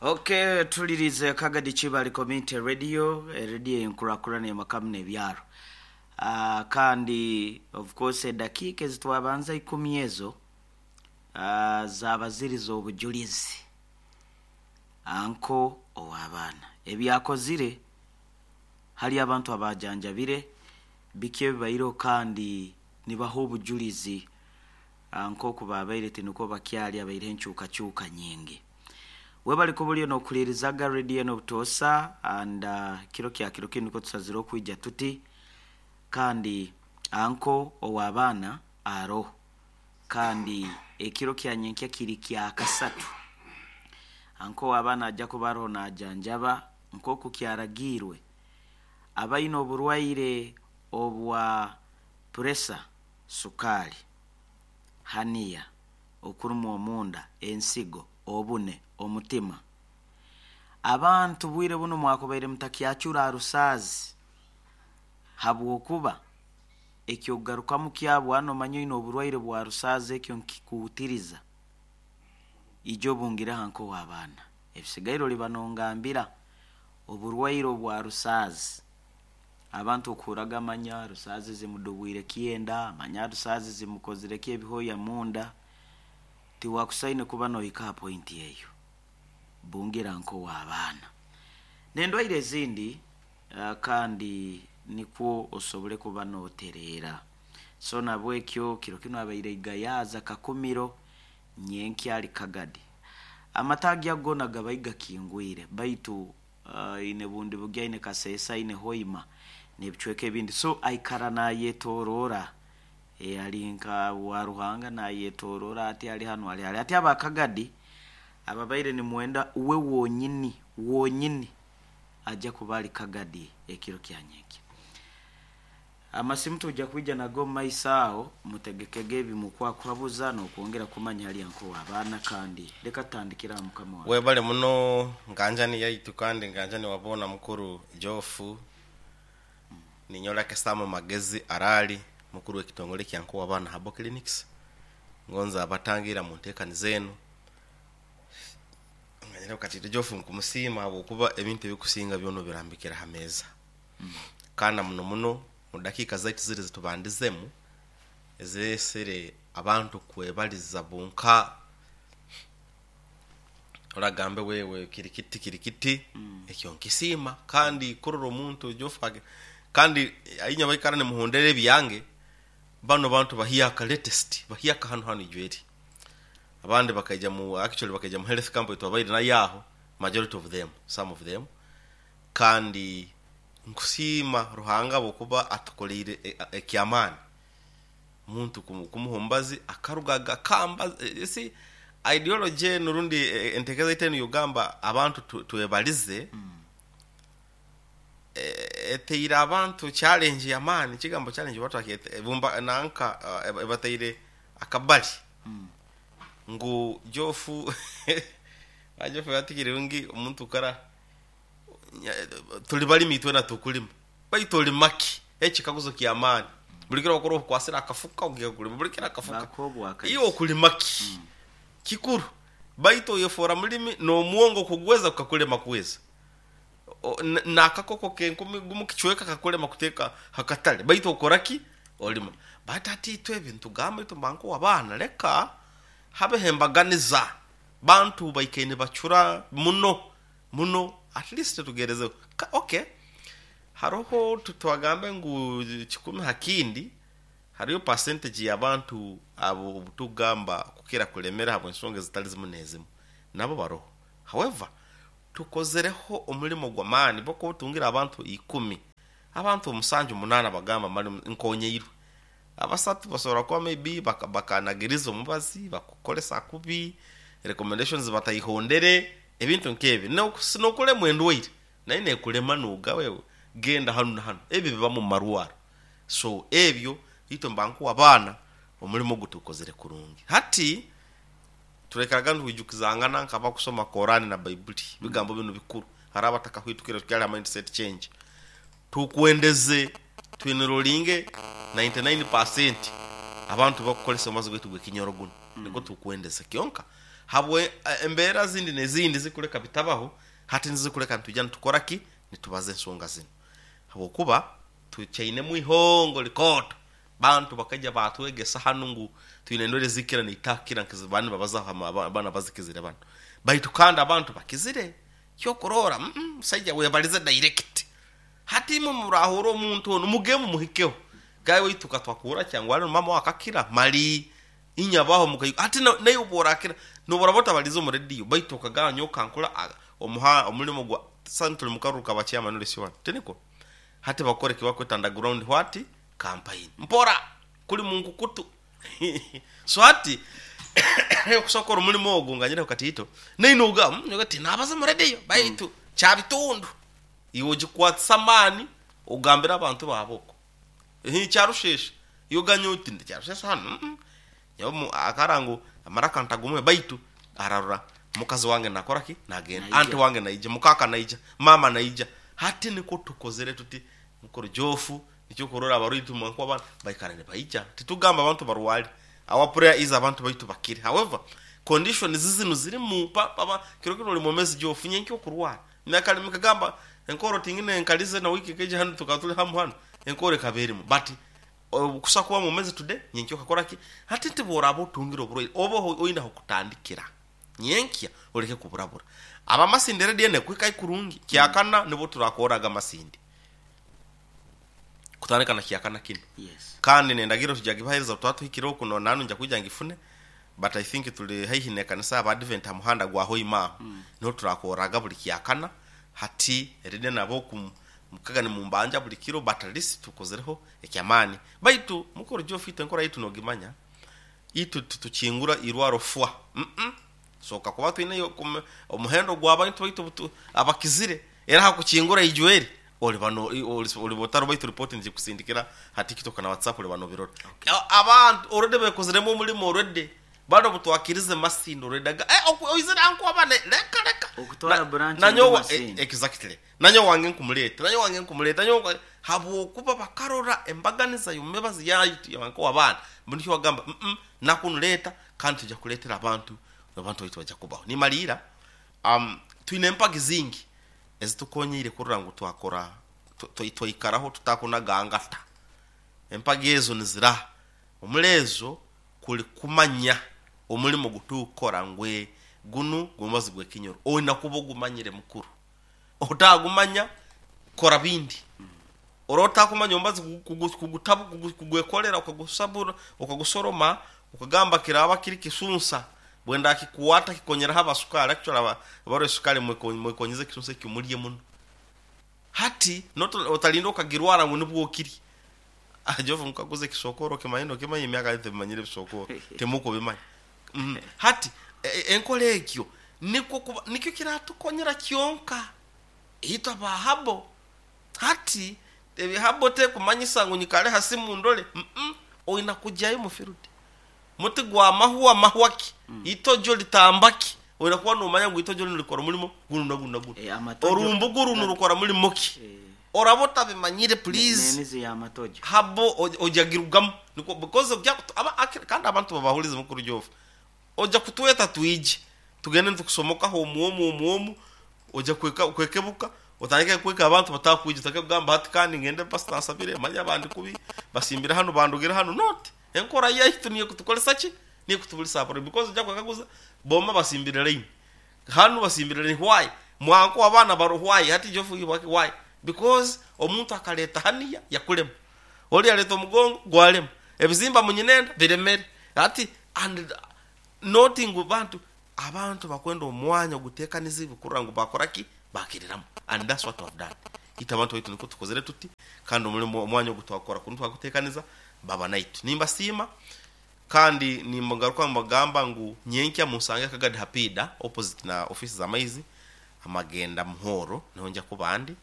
Okay, tulirize Kagadi Kibali Community Radio, erediyo eyenkurakurana ey'amakamu n'ebyaro. Kandi of course edakiika ezitwabanza ikumi ezo zaaba ziri z'obujulizi. Anko ow'abaana ebyakozire hali abantu abaajanjabire, biki ebibaireho kandi nibaha obujulizi nk'oku baabaire tinukwo bakyali abaireho enkyukakyuka nyingi. Webale kuba oliyo n'okuhulirizaga rediyo enu obutoosa and kiro kya kiro kinu nukwo tusazire okwija tuti kandi anko ow'abaana aroho kandi ekiro kya nyenkya kiri kyakasatu. Anko ow'abaana aja kuba aroho najanjaba nk'oku kyaragiirwe abaine oburwaire obwa puresa, sukaali, haniya, okurumwa omunda, ensigo, obune, omutima. Abantu bwire bunu mwakubaire mutakyacura aha rusaazi habwokuba eky'okugarukamu kyabo hanu omanya oine oburwaire bwa rusaazi ekyo nikikuhutiriza. Ija obungireho nk'ow'abaana. Ebisigaire oliba nongambira oburwaire obwa rusaazi. Abantu okuhurraga manya rusaazi zimudubwire kyenda, manya rusaazi zimukozire ki ebihooya munda, tiwakusaine kuba nohika ha pointi eyo. Bungira nk'ow'abaana. N'endwaire ezindi kandi nikwo osobole kuba notereera. So nabwekyo kiro kinu abaire Igayaza Kakumiro nyenkya ali Kagadi. Amataagi ago gona gabaire gakingwire baitu aine Bundibugyo, aine Kasese, aine Hoima n'ebicweka ebindi. So aikara nayetoroora ali nka wa Ruhanga nayetoroora ati ali hanu ali hali. Ati aba Kagadi ababaire nimwenda uwe wonyini wonyini aja kuba ali Kagadi ekiro kya nyenkya. Amasimu twija kwija nago omu maiso aho, mutegekege ebi mukwakuhabuza n'okwongera kumanya hali nk'ow'abaana kandi leka tutandikire aha mukama wange. Webale muno nganjani yaitu kandi nganjani wa boona mukuru Geoff. Ninyowe Lucky Sam Magezi Araali, mukuru w'ekitongole kya Nk'ow'abaana Herbal Clinics. Ngonza abatangiira mu nteekaniza enu. Manyire Katito Geoff nkumusiima ahabw'okuba ebintu ebikusinga byona obirambikire ha meeza. Kandi na muno muno mu dakiika zaitu ziri ezitubandizemu eziresere abantu kwebaliza bonka oragambe wewe kiri kiti kiri kiti ekyo nkisiima kandi kurora omuntu Geoff kandi inywe abaikara nimuhondera ebyange banu abantu bahyaka latest bahyaka hanu hanu ijweri abandi bakaija mu actually bakaija mu health camp eyitwabaire nayo aho majority of them some of them Kandi nkusiima Ruhanga ahabw'okuba atukoreire eky'amaani. Omuntu kumuha omubazi akaruga akamba you see ideology enu rundi entekereza yaitu enu ey'okugamba abantu twebalize eteire abantu challenge y'amaani, ekigambo challenge oba twakyeta bumba nanka ebataire akabari ngu Geoff Geoff yatigire ngu omuntu kara Tuli balimi itwena tukulima, baitu olima ki? Ekikaguzo ky'amaani. Buli kiro okora okwasire akafuka ogiya kulima, buli kiro akafuka. Bakuha obwakaiso. Iwe okulima ki? Kikuru. Baitu oyefoora mulimi n'omwongo kugweza gukakulema kweza. N'akakoko k'enkumi gumu kicweka kakulema kuteeka ha katale, baitu okora ki? Olima. Baitu hati itwe ebi nitugamba itwe mba nk'ow'abaana, leka habeho embaganiza. Bantu baikaire nibacura muno muno at least tugerezeho ok haroho twagambe ngu kikumi ha kindi hariyo percentage y'abantu abo obutukugamba kukira kulemera habw'ensonga ezitali zimu n'ezimu nabo baroho however tukozereho omulimo gw'amaani bo kuba otungire abantu ikumi abantu omusanju munaana bagamba mali nkonyeirwe Abasatu basobora kuba maybe bakanagiriza omubazi, bakukoresa kubi, recommendations bataihondere, ebintu nk'ebyo. N'okulemwa endwaire nayo nekulema noga wewe genda hanu na hanu, ebyo bibamu omu marwaro. So ebyo itwe mba nkuwa abaana omulimo ogu tugukozere kurungi. Hati turaikaraga nitwijukizangana nk'abakusoma Korani na Baibuli, ebigambo binu bikuru. Hariho abatakahwitukire tukyali ha mindset change. Tukwendeze twinirolinge 99% abantu bakukoresa omubazi gwaitu gw'ekinyoro gunu. Nikwo tukwendeze. Kyonka. Habwe embeera zindi n'ezindi zikuleka bitabaho, hati nizikuleka nitwija nitukora ki? Nitubaza ensonga zinu. Habwokuba tukyainemu ihongo likooto. Bantu bakaija baatwegesa hanu ngu twine endwaire ezikira niitakira nk'ezi banu nibabazaho banu abazikizire banu. Baitu kandi abantu bakizire. Kyokuroora, musaija webalize direct. Hati imwe murahurra omuntu onu mugende mumuhikeho. Gaye waitu katwakuhurra kyangwa hali maama we akakira mali inywe abaho mukaikuru. Hati naiwe obu orakira nobu oraba otabalize omu rediyo baitu okagamba nyowe kankole omulimo gwa sani tuli mukaruru ka ba chairman ori wanu, tinikwo? Hati bakora eki bakweta underground what? Campaign. Mpora kuli munkukutu. So hati okusobola kukora omulimo ogu nganyireho katiito, nainwe nogamba nyowe tinabaza omu rediyo baitu kyabitundu. Iwe ogikwatisa amaani ogambire abantu baawe okwo. Hii kyarushesha, iwe oganye oti ndi kyarushesha hanu, nyowe akara ngu amaraka ntagumuhe baitu ararora mukazi wange nakora ki? Nagenda, anti wange naija, mukaaka naija, maama naija. Hati nikwo tukozire tuti mukuru Jofu, nikyo okurora abarwaire nko abana baikara nibaija. Titugamba abantu barware, our prayer is abantu baitu bakire. However, conditions zinu zirimu, kiro kinu ori mwomezi Jofu, nyenkya okurwara. Nakalimi kagamba enkooro tingine enkalize na wiiki ekaija hanu tukaba tuli hamu hanu enkooro ekaba erimu but kusa kuba mwomezi today nyenkya okakora ki? Hati nti bworaba otungire oburwaire obe oine ahokutandikira nyenkya oleke kuburabura. Abamasindi radio enu ekuhikahi kurungi kyakana nibo turakoraga amasindi kutandika na kyakana kinu. Yes. Kandi nendagiriro tuja gibahereza obu turaba tuhikire oku nanu nja kwija ngifune but I think tuli haihi n'ekanisa y'Abadvent ha muhanda gwa Hoima aho niho turakorraga buli kyakana. Hati ride nabo oku mukaga nimumbanja buli kiro but at least tukozereho eky'amaani. Baitu mukuru Geoff itwe enkora yaitu nogimanya, itwe titukingura irwaro fwa umm Sooka kuba twineyo omuhendo gw'abantu baitu abakizire, era ha kukingura ijweri oliba oliba otari baitu ripooti nigikusindikira ha TikTok na WhatsApp oliba nobirora. Abantu already bekoziremu omurimo already banu obutwakirize Masindi already aga eh oizire anko abana leka leka. Okutwara branch eri Masindi. Exactly. Nanyowe wange nkumuleta, nanyowe wange nkumuleta, nanyowe habwokuba bakarora embaganiza y'omumibazi yaitu y'anko abaana nikyo bagamba nakunu leta kandi twija kuleetera abantu abantu baitu baija kubaho. Nimaliira, twine empagi zingi ezitukonyeire kurora ngu twakora, twaikaraho tutakunaga ngata. Empagi ezo niziraha? Omuri ezo kuli kumanya omulimo ogu turikukora ngu gunu gw'omubazi gw'ekinyoro. Oine kuba ogumanyire mukuru. Otagumanya, kora bindi. Oraba otakumanya omubazi kugwekolera okagusabura, okagusoroma, okagamba kiraba kiri kisunsa, bwendakikuwata kikonyeraho aba sukali. Actually abarwaire sukali mwekonyeze ekisunsa ekyo mulye muno. Hati otalinda okagirwara ngu nibwo okirye. Jofu nkaguza ekisokoro okimanye nokimanya emyaka yanyu tebimanyire ebisokoro, timukubimanya. Hati enkora egyo nikwo kuba nikyo kiratukonyera kyonka itwe aba habo. Hati habo tekumanyisa ngu nyikare ha simu ndole, oina kugyayo mu field. Muti gwa mahwa mahwa ki, itojo litamba ki, oina kuba nomanya ngu itojo linu rikora omulimo gunu na gunu na gunu. Orumbugu runu rukora mulimo ki? Oraba otabimanyire please N'emizi y'amatojo. habo ojagirugamu nikwo because oja kandi abantu babahulize mukuru Jofu. Oja kutweta twije tugende nitukusomokaho omu omu omu omu, oja kwekebuka otandike kweka abantu batakwija, otandike kugamba hati kandi ngende pasita ansabire, manya bandi kubi, basimbire hanu bandugire hanu. Not enkora yaitu niyo ekutukoresa ki? Niyo ekutubulisa abarwaire because oja kwekaguza boma basimbire line, hanu basimbire line why? Mwanko abaana baro why? Hati Jofu why? Because omuntu akaleta haniya yakulema, ori yaleta omugongo gwalema, ebizimba munyinenda biremere. Hati and not ngu bantu, abantu bakwenda omwanya ogutekanizibwe kurora ngu bakora ki? Bakiriramu and that's what we have done. Itwe abantu baitu nikwo tukozire tuti kandi omurimo omwanya ogu twakora kunu twagutekaniza baba naitwe. Nimbasiima kandi nimgaruka mbagamba ngu nyenkya munsange Kagadi ha Piida opposite na office za maizi amagenda Muhoro niho nja kuba ndi.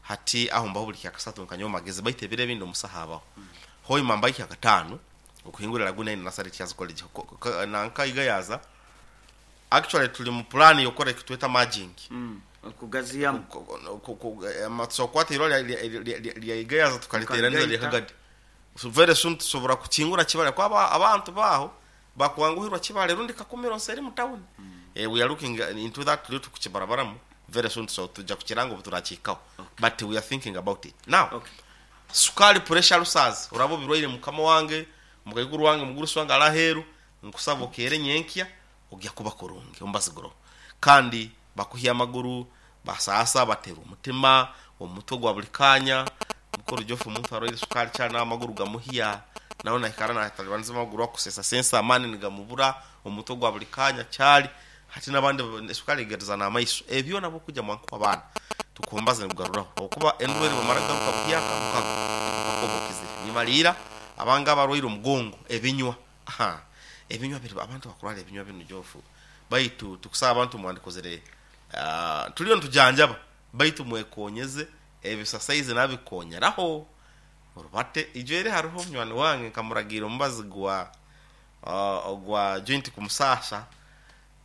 Hati aho mbaho buli kyakasatu nkanyowe magezi baitu ebiro ebindi omusaho abaho. Hoima mbayo kyakataano okuhingura Laguna Inn Nasari Teachers College nanka Igayaza. Actually tuli mu plan yokukora ekitweta merging. Okugaziyamu. Tusobora kukwata eirwariro lya Igayaza tukariteeraniza rya Mukarigaita. Kagadi. So very soon tusobora kukingura kibare kuba abantu baaho. Bakwanguhirwa Kibale rundi Kakumiro nseri mu town. We are looking into that, tuli tukukibarabaramu very soon, so tujja kukiranga obu turakihikaho. But we are thinking about it now. Sukali, pressure, rusazi, uraba obirwaire, mukama wange, mukaikuru wange, mugurusi wange ali aheeru, nkusaba okeere nyenkya ogya kuba kurungi omubazi guroho. Kandi bakuhya amaguru, basaasa, batera omutima, omutwe gwa buli kanya. Mukuru Jofu, omuntu arwaire sukali kyali n'amaguru gamuhya, nawe naikara natalibaniza amaguru, akusesa sensa, amaani nigamubura, omutwe gwa buli kanya kyali hati n'abandi esukali egeriza n'amaiso. Ebyo nabwo kujja mwankuba abaana tukumbaza nikugaruraho okuba endwere bamara garuka buhyaka mukago mpaka okizire. Nimaliira abanga abarwaire omugongo, ebinywa, aha ebinywa biri abantu bakurwara ebinywa binu Jofu, baitu tukusaba abantu mwandikozere, tuliyo nitujanjaba, baitu mwekonyeze ebisasaizi nabikonyeraho orubate. Ijo eri hariho munywani wange nkamuragiira omubazi gwa ogwa joint kumusasa,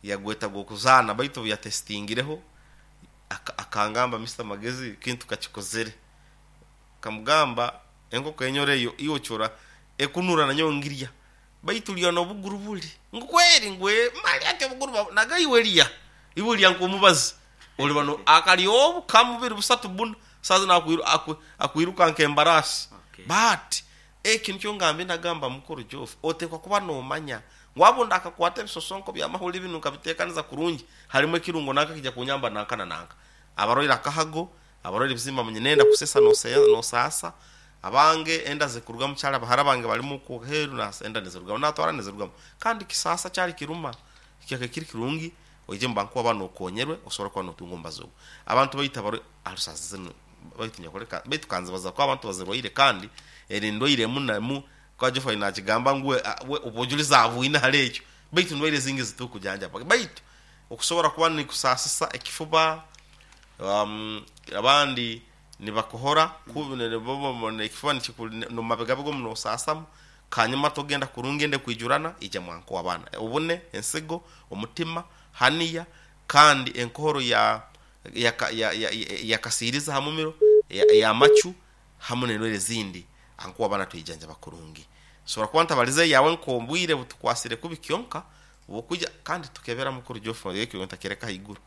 yagweta gw'okuzaana, baitu obu yatestingireho akangamba, Mister Magezi, kintu kakikozere. Kamugamba enkoko enyoro eyo iwe ocura ekunura nanyowe ngirya, baitu lya n'obuguru buli ngu kweri ngu mali ati obuguru naga iwe lya, iwe lya nk'omubazi oliba no akalya obu kamu bubiri busatu buna saaha zinu akwiruka nk'embaraasi. But ekyo nikyo ngambire, nagamba mukuru Jofu, otekwa kuba nomanya ngu abo ndakakwata ebisosonko by'amahuri binu nkabiteekaniza kurungi, harimu ekirungo nanka kija kunyamba nanka na nanka. Abarwaire akahago, abarwaire ebizimba munyina enda kusesa nosaasa, abange enda zikurugamu kyali abahara bange balimu okwo aheeru enda nizirugamu natwara nizirugamu kandi kisaasa kyali kiruma kyaka kiri kirungi oije mubankuba ba nokonyerwe osobora kuba notunga omubazi ogwo. Abantu baitu abarwaire alusazi zinu baitu nyakuleka baitu kanzibaza kuba abantu bazirwaire kandi eri ndwaire emu nemu kuba Geoffrey nakigamba ngu we obujulizi abwine hali ekyo baitu ndwaire ezingi zitukujanjaba baitu okusobora kuba nikusaasisa ekifuba, abandi nibakuhora kubi, ekifuba nomumabegabega omu nosaasamu, kanyuma togenda kurungi enda ekwijurana, ija mwankuha abaana. Obune, ensigo, omutima, haniya, kandi enkohoro ya yakasiiriza ha mumiro, ey'amacu hamu n'endwaire ezindi, ankuha abaana twijanjaba kurungi. Nsobora kuba ntabalize eyawe nk'obwire butukwasire kubi kyonka obwokwija kandi tukebera mukuru Geoffrey ekyo ntakireka haiguru.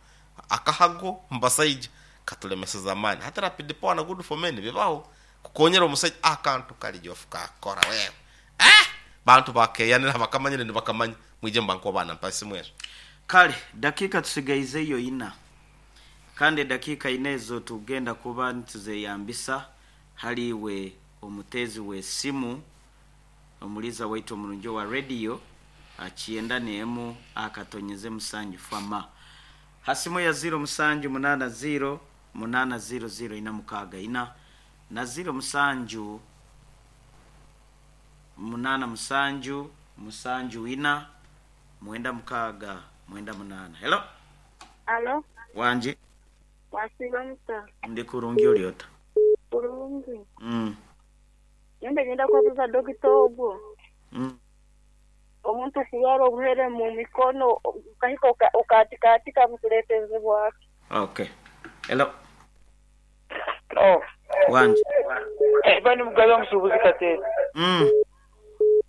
Akahago omu basaija katulemeseza amaani. Hati rapid power na good for men bibaho kukonyera omusaija akantu kari Geoff kakora wewe. Eh! Bantu bakeyanira abakamanyire nibakamanya. Mwije mubankuwa baana mpa esimu ezo. Kale dakiika tusigaizeyo ina. Kandi edakiika ina ezo tugenda kuba nituzeyambisa hali iwe omuteezi w'esimu, omuliiza waitu omurungi owa rediyo, kyenda n'emu akatonyeze musanju fama. Ha simu ya ziiro musanju munaana ziiro munaana ziiro ziiro ina mukaaga ina na ziiro musanju munaana musanju musanju ina mwenda mukaaga mwenda munaana. Hello. Alo. Wangi. Wasiiba muta? Ndi kurungi oli ota? Kurungi. Nyowe nyenda kwebuza dokita ogwo. Omuntu kurwara obuhere mu mikono okahika okatikatika bukuleetezebwa ki? Ok. Hello. Hello. Wangi. Eba ni Mugabe omusuubuzi Kateete.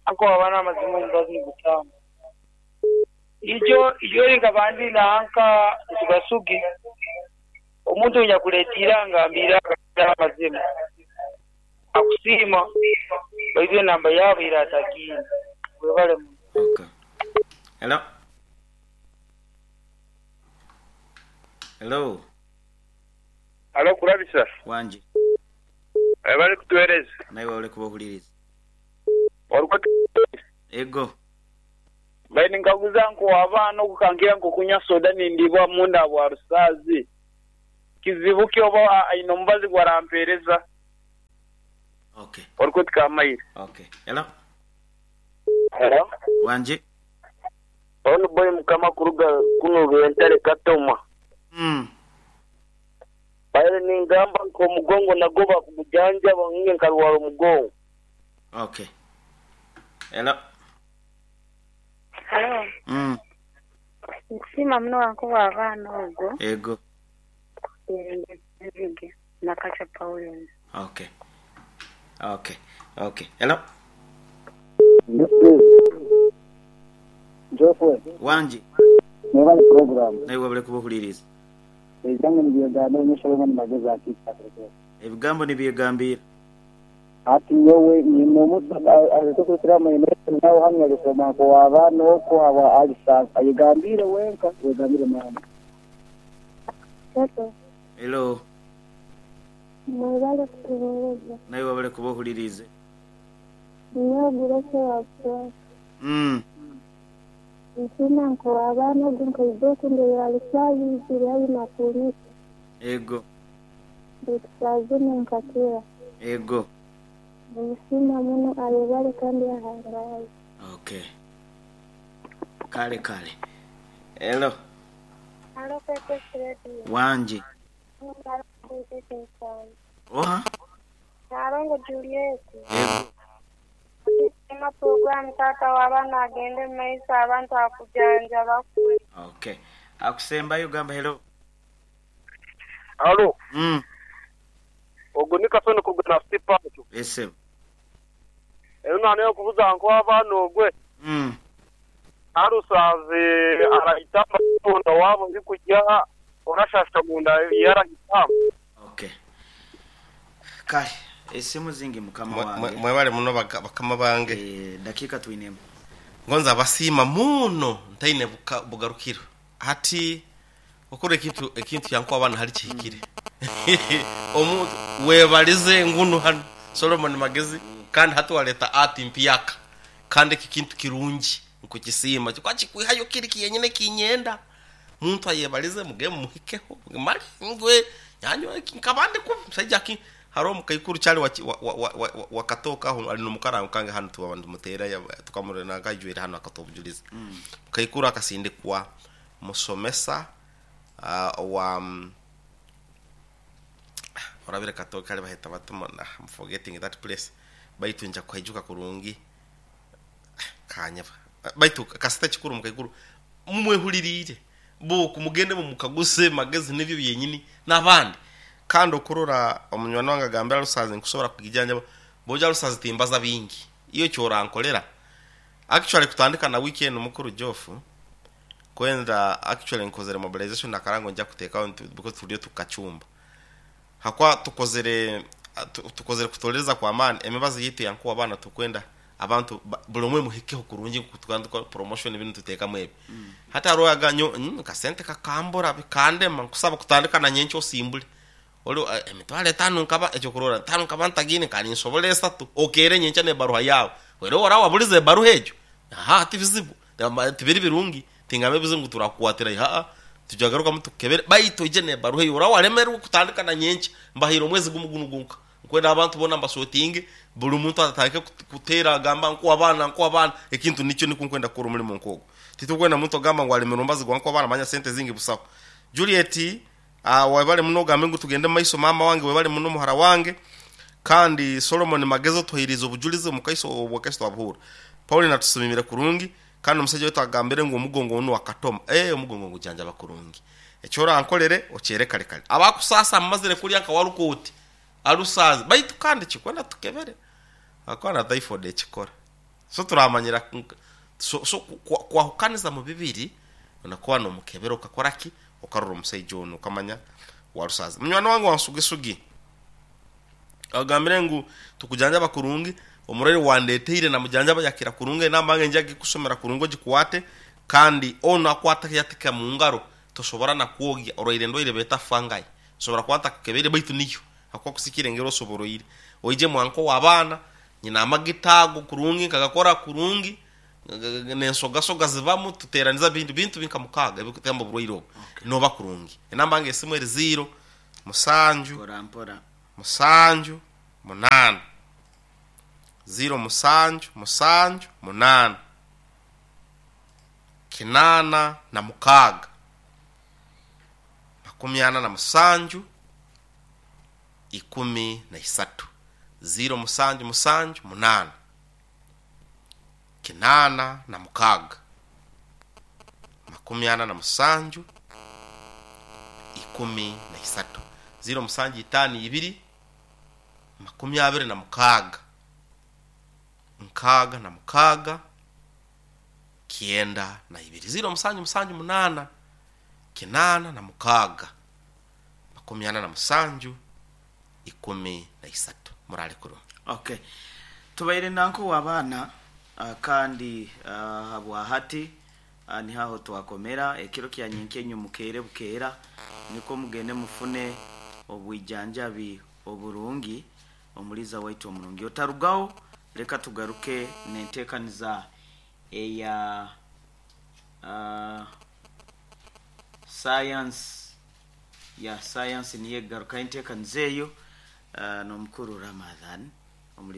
Anko wabana amazima omubazi nigutaama. Ijo ijo eri nkaba ndi nanka Basugi, omuntu oinyakuleeta eiranga mbiire amazima akusiima baitu enamba yaabo eira atagiine. Webale muno. Ok. Hello. Hello. Halo Kurabisa. Wangi. Webale kutuwereza. Naiwe webale kuba ohuliriza. Ego. Mbaire ninkaguza nko abaana okukangira nko kunywa soda nindibwa munda bwa rusaazi kizibu ki oba aine omubazi gwarampereza? Okay. Orikwetu Kamaire. Okay. Hello. Hello. Wangi. Onu boy mukama kuruga kunu Rwentare Katoma. Mbaire ningamba nka omugongo nagwo bakugujanjaba nyowe nkarwara omugongo. Okay. Hello. Halo. Nkusiima muno wankuba abaana ogwo. Ego. Nzige Nakacha Pauline. Okay. Okay. Okay. Hello. Jofwe, Wangi. Mwebale puroguramu. Naiwe webale kuba ohuliriize. Ebigambo nibyegambira nyowe Solomon Magezi akiika Kateregga. Ebigambo nibyegambiira. Hati nyowe nyine omusa tukurukiramu nawe hanu yalesoma nk'ow'abaana okwo habwa alisa ayegambiire wenka wegambire maama. Toto, Hello. mwebale kutuheereza. Naiwe webale kuba ohuliriize. Nyowe Grace wa Buswata. Nsiima nk'ow'abaana ogu nkaija oku ndeeba Rusaazi izire haihi na kuunika. Ego. Baitu saaha zinu nkakira. Ego. Nimusiima muno ayebale kandi ahangaale. Okay. Kale kale. Hello. Halo KKS Radio. Wangi. Oha? Nalongo Juliet. Ego. Ema program tata w'abaana agende mu maiso abantu akujanja bakwe. Okay. Akusembayo gamba hello. Alo. Ogwo ni Kasoni kuruga na City Park. Ese. Ero naneyo kubuza nko abaana ogwe. Arusaze arahitamba munda wabo ndi kujya orashasha munda yarahitamba. Okay. Kale esimu zingi mukama wange. Mwebale muno bakama bange. Dakika twinemu. Ngonza abasiima muno ntaine bugarukiro. Hati okora ekintu yanko abana hali kihikire. Omuntu webalize ngunu hano Solomon Magezi kandi hati waleta ati mpyaka kandi iki kintu kirungi nkukisiima kwa kikwihayo kiri kiyenyine kinyenda muntu ayebalize muge muhikeho mali ngwe nyanyo nkabande ku musajja ki haro mukaikuru cyali wakatoka aho ali nomukara kange hano tuba bantu mutera tukamurena kajwera hano akatobujuliza. Mukaikuru akasindikwa musomesa wa orabire katoka ali baheta batuma I'm forgetting that place baitu nja kuhaijuka kurungi kanyaba baitu kasita kikuru mukaikuru mumwehulirire buku mugende mumukaguse Magezi nibyo byenyini n'abandi kandi okurora omunywani wange agambira Rusazi nkusobora kugijanja boja Rusazi timbaza bingi iyo cyorankolera actually kutandika na weekend mukuru Jofu kwenda actually nkozere mobilization nakarango nja kuteka because tuliyo tukachumba hakwa tukozere kutoreza kwa amani emibazi yitu yankuwa abana tukwenda abantu buli omwe muhikeho kurungi kutukanduka promotion ibintu tutekamu ebi. Hata royaganyo kasente kakambura bikandema nkusaba kutandika na nyencho osimbule oli emitwalo etano nkaba ekyokurora tano nkaba ntagine kandi nsobole esatu okere nyencha nebaruha yawe wero ora wabulize ebaruha egyo aha ati bizibu tibiri birungi tingame bizibu turakukwatira ha tujagaruka mutukebere baitu ije nebaruha eyo ora walemerwa kutandika na nyencha mbahira omwezi gumu guno gunka nkwenda abantu bona mbasotinge buli muntu atandike kutera agamba nko abana ekintu nikyo nikunkwenda kukora omulimo nkogo titukwenda muntu agamba ngu alemerwa mbazi gwa nko abana manya sente zingi busaho. Juliet webale muno gambe ngu tugende maiso mama wange webale muno muhara wange kandi Solomon Magezo tuhiriza obujulizi mukaiso obwakaiso abuhura Paul natusimimira kurungi kandi omusajja wetu agambire ngu omugongo ono wakatoma omugongo ngujanja bakurungi ekyora ankolere okyere kale kale abakusasa mumazire kulya nka walukoti alusazi baitu kandi kikwenda tukebere akwana typhoid ekikora so turamanyira so kwahukaniza mu bibiri unakuwa no mukebero ukakora ki ukarura omusajja ono ukamanya warusazi. Munywani wange wansugesugi agambire ngu tukujanja bakurungi omurere wandeteire na mujanja bayakira kurungi nambange njagi kusomera kurungo gikwate kandi ono akwata yatika mu ngaro tosobora na kuogya oroire ndoire beta fangai sobora kwata kukebere baitu niyo akwa kusikire ngero soboroire oije mwanko wabana nyina amagitago kurungi kagakora kurungi nensoga soga zibamu tuteraniza bintu binkamukaga ebikutamba burwaire obu noba kurungi enamba nge esimu eri 0 7 7 8 0 7 7 8 8 6 47 13 0 7 7 8 8 6 47 13 0 7 5 2 26 6 6 92, 0778 86 47 13. Murale kurungi. Okay, tubaire nanko w'abaana, kandi habwahati nihaho twakomera ekiro kya nyenkenyu. Mukeere bukeera niko mugende mufune obwijanjabi oburungi. Omuliza waitu omurungi otarugaho, leka tugaruke nenteekaniza eya science ya science, niyo egaruka enteekaniza eyo n'omukuru Ramadhan omuliza.